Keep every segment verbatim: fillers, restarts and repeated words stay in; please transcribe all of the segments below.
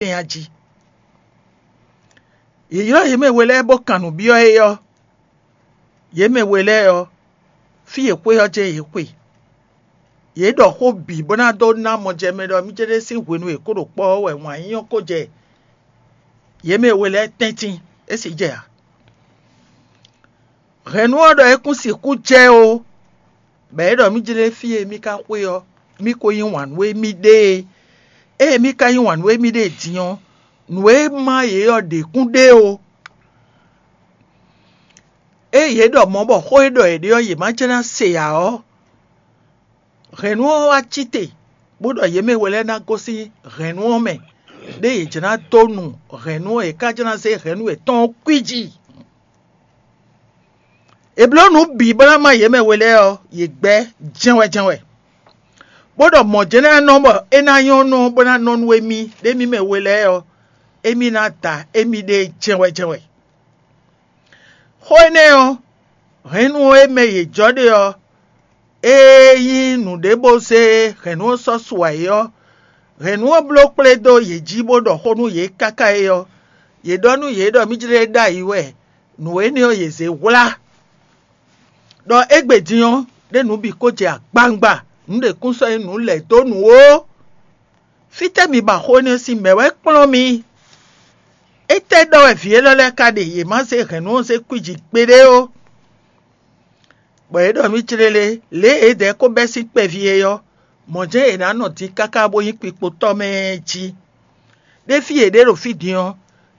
tɛn a jí. Yě ylɔ́ yě mɛ we lɛ́ɛ bó kan nǔ byɔ́ é ɔ́, yě mɛ we lɛ́ɛ ɔ́, fí e xwé ɔ́ jɛ́n yě xwe. Yě ɖɔ xó bǐ bó ná dó ná mɔjɛmɛ ɖɔ mí céɖé sín hwenu e kó ɖo kpɔ́ ɔ́ wɛ wǎn yíyɔ́ ko jɛ yě mɛ we lɛ́ɛ tɛ́ntin, é sì jɛ ǎ. Hɛ̌nnu ɔ́ ɖɔ é kún sixú jɛ ó, bɔ é ɖɔ mí jlé fí e mí ka xwe ɔ́, mí ko yí wǎn nú émí ɖée. Ée mí ka yí wǎn nú émí ɖée din ɔ́, nǔ e má yě ɔ́ ɖě kún ɖe ó. Ée yě ɖɔ mɔ̌ bɔ xó e ɖɔ yě ɖe ɔ́, yě má jlɛ́ ná se ǎ ɔ́, hɛ̌nnu ɔ́ wá cí te, bó ɖɔ yě mɛ we lɛ́ɛ ná gosín hɛ̌nnu ɔ́ mɛ, ɖé yě jlɛ́ ná dó nu hɛ̌nnu ɔ́, yě ká jlɛ́ ná zé hɛ̌nnu yětɔn ɔ́ kwíji. È blǒ nǔ bǐ bó ná má yě mɛ we lɛ́ɛ ɔ́, yě gbɛ́ jɛ́nwɛ jɛ́nwɛ, bó ɖɔ mɔ̌ jɛ́n ná nɔ bɔ é ná nyɔ́ nɔ bó ná nɔ nú émí ɖ'émí mɛ we lɛ́ɛ ɔ́, émí ná da émí ɖée jɛ́nwɛ jɛ́nwɛ. Xó énɛ́ ɔ́, hɛ̌nnu e mɛ yě jɔ ɖe ɔ́, ée nyí nǔɖé bó zé hɛ̌nnu ɔ́ sɔ́ su ayǐ ɔ́, hɛ̌nnu ɔ́ bló kplé dó yě jí bó ɖɔ xó nú yě káká é ɔ́, yě ɖɔ nú yě ɖɔ mí jlé ɖ'ayǐ wɛ nǔ énɛ́ ɔ́ yě zé hwlá. Ɖɔ égbé din ɔ́, ɖé nǔ bǐ ko jɛ agbawungba, nǔ ɖě kún sɔ́ nyí nǔ lɛ̌ dó nǔ ó. Fítɛ́ mi ba xó énɛ́ sín mɛ̌ wɛ kplɔ́n mi? Étɛ́ ɖɔ wɛ vǐ élɔ́ lɛ́ɛ ka ɖe yě má zé hɛ̌nnu ɔ́ zé kwíji gbeɖé ó? Bɔ yě ɖɔ mì clélé, lě e yědɛɛ ko bɛ́ sín kpɛví é ɔ́, mɔ̌ jɛ́n yě ná nɔ din káká bó nyí kpikpotɔ́ mɛ jí. Ɖé fí yě ɖe ɖo fí din ɔ́,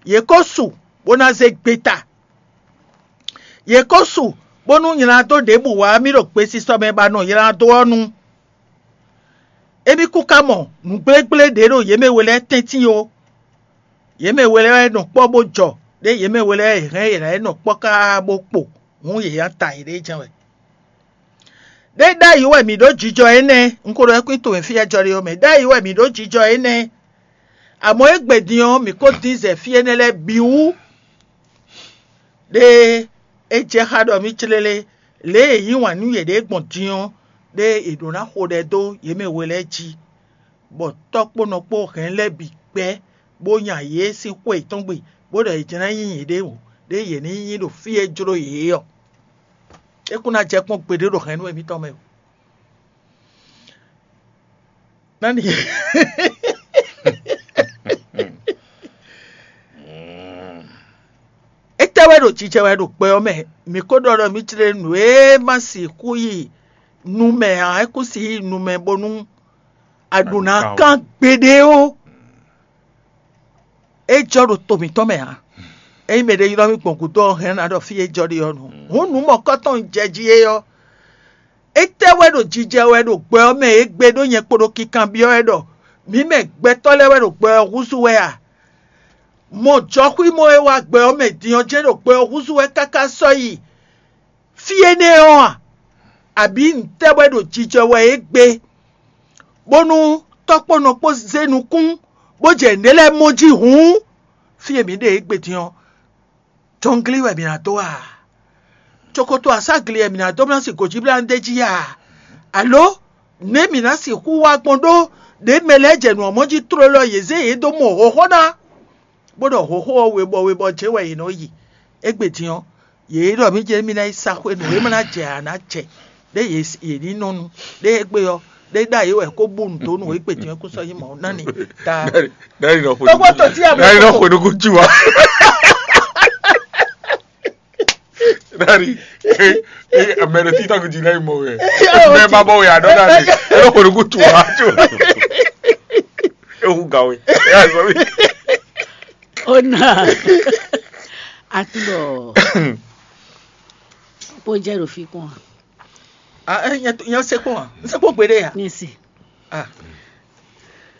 yě ko su bó ná zé gbeta. Yě ko su bónú nylá dó ɖěbǔ wá mì ɖo gbesisɔ mɛ ba nɔ nylá dó ɔ́ nu. Émí kún ka mɔ nǔgblégblé ɖě ɖo yě mɛ we lɛ́ɛ tɛ́ntin ó. Yě mɛ we lɛ́ɛ wɛ nɔ kpɔ́ bó jɔ, ɖé yě mɛ we lɛ́ɛ wɛ è hɛn yě ná yi nɔ kpɔ́ káá bó kpo, hǔn yě nya ta yěɖée jɛ́n wɛ. Ɖé ɖ'ayǐ wɛ mǐ ɖó jijɔ énɛ́, un ko ɖɔ é kún tomɛ fí e jɔ ɖe ɔ́ mɛ, ɖ'ayǐ wɛ mǐ ɖó jijɔ énɛ́. Amɔ̌ égbé din ɔ́, mǐ ko dín zɛ fí énɛ́ lɛ́ɛ bǐ wú. Ɖé é jɛ xá ɖɔ mì clélé, lě e è yí wǎn nú yěɖée gbɔn din ɔ́, ɖé è ɖǒ ná xo ɖɛ dó yě mɛ we lɛ́ɛ jí, bɔ tɔ́ kpó nɔ kpó hɛn lɛ́ɛ bǐ gbɛ́, bó nya yě sín xwé yětɔn gbe, bó ɖɔ yě jlɛ́n nyí yěɖée wǒ, ɖé yě ní nyí ɖo fí e jló yě é ɔ́. É kún ná jɛ kpɔ́n gbeɖé ɖo hɛ̌nnu émítɔn mɛ o. Nani? Étɛ́ wɛ ɖo jijɛ wɛ ɖo gbɛ ɔ́ mɛ? Mǐ ko ɖɔ ɖɔ mǐ jlé nǔ e ma sixú yi nu mɛ ǎ, é kún si yi nu mɛ bónú a ɖǒ ná kán gbeɖé ó. É jɔ ɖo to mǐtɔn mɛ ǎ. Ényí mɛɖé ylɔ́ mì gbɔn gǔdo ɔ́, hɛn ná ɖɔ fí e jɔ ɖe ɔ́ nu. Hǔn nǔ mɔ̌kɔtɔn jɛ jí é ɔ́, étɛ́ wɛ ɖo jijɛ wɛ ɖo gbɛ ɔ́ mɛ é gbe ɖó nyɛ kpo ɖo kinkanbyɔ́ wɛ ɖɔ mǐ mɛ gbɛtɔ́ lɛ́ɛ wɛ ɖo gbɛ ɔ́ húzú wɛ a? Mɔ jɔxwímɔ e wá gbɛ ɔ́ mɛ din ɔ́ jɛ́n ɖo gbɛ ɔ́ húzú wɛ káká sɔ́ yi fí énɛ́ ɔ́ a? Abǐ ntɛ́ wɛ ɖo jijɛ wɛ é gbe, bónú tɔ́kpɔ́nɔ kpó zé nukún, bó jɛ nǔɖé lɛ́ɛ mɔ jí hǔn? Fí e mǐ ɖe égbé din ɔ́, jɔnglí wɛ mǐ ná dó a? Cokoto aságli wɛ mǐ ná dó ná sin gǒjíblánú d'é jí a? Alo nɛ̌ mǐ ná sixú wá gbɔn ɖó ɖě mɛ lɛ́ɛ jɛ nǔ ɔ́ mɔ jí tlóló yě zé yě dó mɔ hlɔ̌nhlɔ́n ná, bó ɖɔ hlɔ̌nhlɔ́n ɔ́ webɔ webɔ jɛ́n wɛ yě nɔ yi? Égbé din ɔ́, yě ɖɔ mǐ jɛ mí ná yi sa xwé nǔ e ma ná jɛ ǎ ná jɛ, ɖé yě ní nɔ nu, ɖé égbé ɔ́, ɖé ɖ'ayǐ wɛ kó bú nǔ dó nú égbé din ɔ́ kún sɔ́ nyí mɔ̌ ná ni. Ta Dali nɔ xwe Tɔgbɔ tɔ́ tí a mɛ Dali nɔ xwe nukún cu wa. Dali, eh, eh, mɛ ɖo TikTok jí lɛ́ mɔ wɛ. Mɛ ma bɔ wɛ aɖɔ Dali. E nɔ xwe nukún cu wa. Ehu ga we. Ona. Atibɔ. Pojɛ ɖo fi kpɔn. Ah, eh, nyɛ nyɛ se kpɔn. N se kpɔn gbeɖe ya. Nisi. Ah.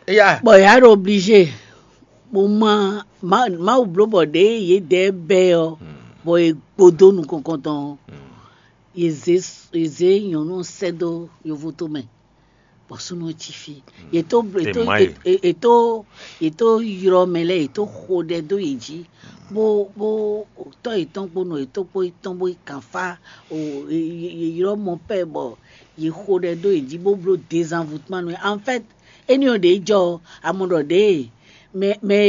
Eya. Bɔ ya ɖo obligé. Mo ma ma Mawu bló bɔ ɖě yě dɛ bɛ ɔ, bɔ è gbodó nukɔn kɔntɔn ɔ, yě zé yě zé nyɔ̌nu ɔ́ sɛ́ dó yovo tomɛ, bɔ súnnu ɔ́ cí fí. Yě tó yě tó yě tó yě tó ylɔ́ mɛ lɛ́ɛ, yě tó xo ɖɛ dó yě jí, bó bó tɔ́ yětɔn kpó nɔ yětɔn kpó yětɔn bó yi kǎnfá, yě ylɔ́ mɔ pɛ́ bɔ yě xo ɖɛ dó yě jí bó bló dézanvutmanu. En fait, éní ɔ́ ɖě jɔ ɔ́, a mɔ ɖɔ ɖěe mɛ mɛ e